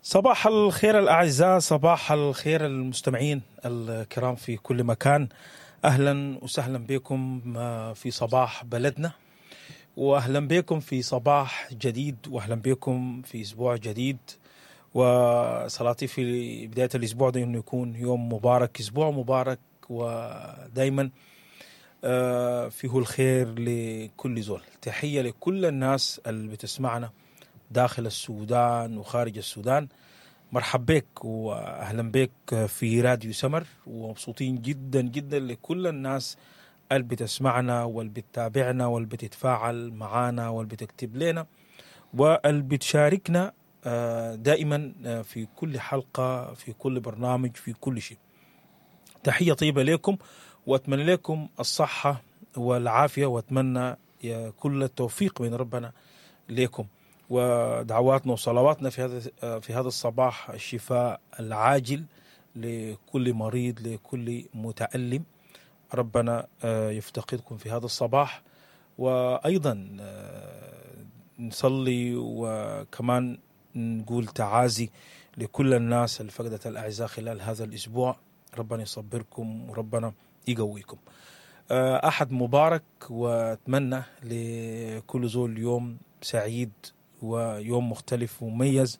صباح الخير الأعزاء، صباح الخير المستمعين الكرام في كل مكان. أهلا وسهلا بكم في صباح بلدنا، وأهلا بكم في صباح جديد، وأهلا بكم في أسبوع جديد. وصلاتي في بداية الأسبوع ده إنه يكون يوم مبارك، أسبوع مبارك، ودايما فيه الخير لكل زول. تحية لكل الناس اللي بتسمعنا داخل السودان وخارج السودان. مرحب بك واهلا بك في راديو سمر، ومبسوطين جدا جدا لكل الناس اللي بتسمعنا واللي بتتابعنا واللي بتتفاعل معانا واللي بتكتب لنا واللي بتشاركنا دائما في كل حلقة، في كل برنامج، في كل شيء. تحية طيبة لكم، واتمنى لكم الصحة والعافية، واتمنى كل التوفيق من ربنا لكم. ودعواتنا وصلواتنا في هذا الصباح الشفاء العاجل لكل مريض، لكل متألم. ربنا يفتقدكم في هذا الصباح. وأيضا نصلي وكمان نقول تعازي لكل الناس اللي فقدت الأعزاء خلال هذا الأسبوع. ربنا يصبركم وربنا يقويكم. أحد مبارك، وأتمنى لكل زول يوم سعيد ويوم مختلف ومميز،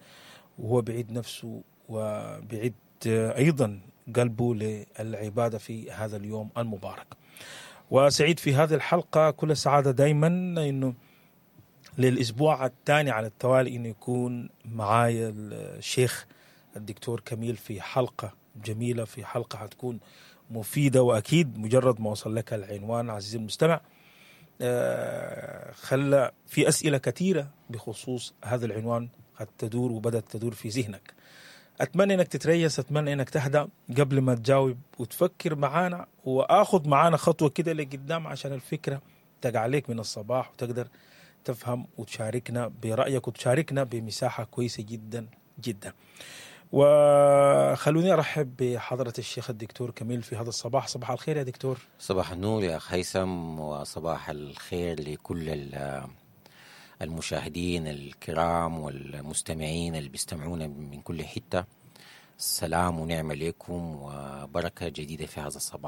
وهو بعيد نفسه وبعيد أيضا قلبه للعبادة في هذا اليوم المبارك. وسعيد في هذه الحلقة كل السعادة دايما إنه للأسبوع الثاني على التوالي إنه يكون معايا الشيخ الدكتور كميل في حلقة جميلة، في حلقة هتكون مفيدة. وأكيد مجرد ما وصل لك العنوان عزيزي المستمع خلى في أسئلة كثيرة بخصوص هذا العنوان قد تدور وبدأت تدور في ذهنك. أتمنى أنك تتريس، أتمنى أنك تهدأ قبل ما تجاوب وتفكر معانا، وآخذ معانا خطوة كده لقدام عشان الفكرة تقع عليك من الصباح وتقدر تفهم وتشاركنا برأيك وتشاركنا بمساحة كويسة جدا جدا. وخلوني أرحب بحضرة الشيخ الدكتور كميل في هذا الصباح. صباح الخير يا دكتور. صباح النور يا أخ هيثم، وصباح الخير لكل المشاهدين الكرام والمستمعين اللي بيستمعونا من كل حتة. سلام ونعمة لكم وبركة جديدة في هذا الصباح.